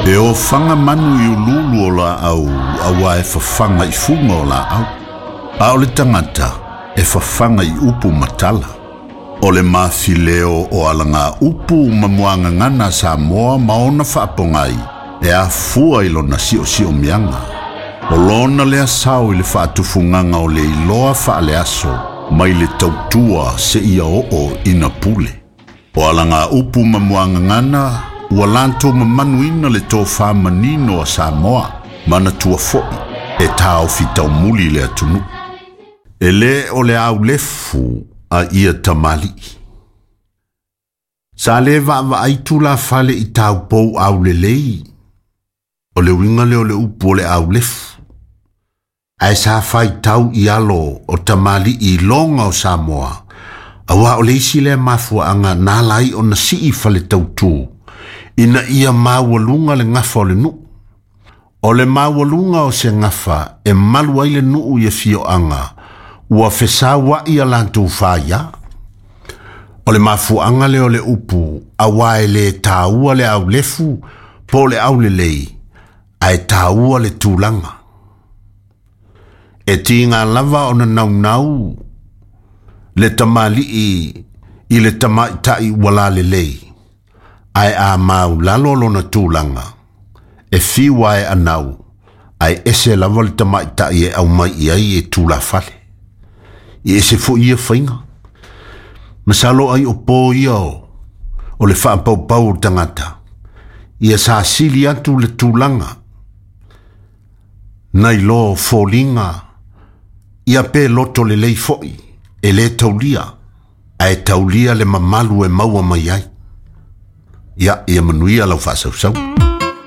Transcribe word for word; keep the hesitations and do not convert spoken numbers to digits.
E ofaga manu i ululu o laau auā e fafaga i fuga o laau. A o le tagata e fafaga i upu ma tala. O le mafileo o alaga upu ma muagagana a Samoa ma ona faapogai e afua i lona siosiomiaga. O lona lea sao i le faatufugaga o le iloa faaleaso mai le tautua seia oo ina pule. O alaga upu ma muagagana ua latou mamanuina le tofā manino a Samoa manatua fo'i e taofi taumuli le atunuu. E lē o le aulefu a ia tamalii. Sa lē vaavaai tulafale i taupou aulelei. O le uiga lea o le upu o le aulefu. Ae sa faitau i alo o tamalii i loga o Samoa, auā o le isi lea mafuaaga na ala ai ona sii fale tautū, ina ia maualuga le gafa o le nuu. O le maualuga o se gafa e malu ai le nuu i afioaga ua fesaua'i a latou faiā. O le mafuaaga lea o le upu auā e lē taua le aulefu po o le aulelei, ae taua le tulaga. E tiga lava ona naunau le tamalii i le tamaita'i ua lalelei, ae a maulalo lona tulaga, e fiu ae anau, ae ese lava le tamaita'i e aumai i ai e tulafale. I ese fo'i ia faiga. Masalo ai o pō ia o, o le faapaupau o tagata. Ia sa sili atu le tulaga, nai lo foliga, ia pe loto lelei fo'i, e lē taulia, ae taulia le mamalu e maua mai ai. Ia, ia manuia lau faasausau.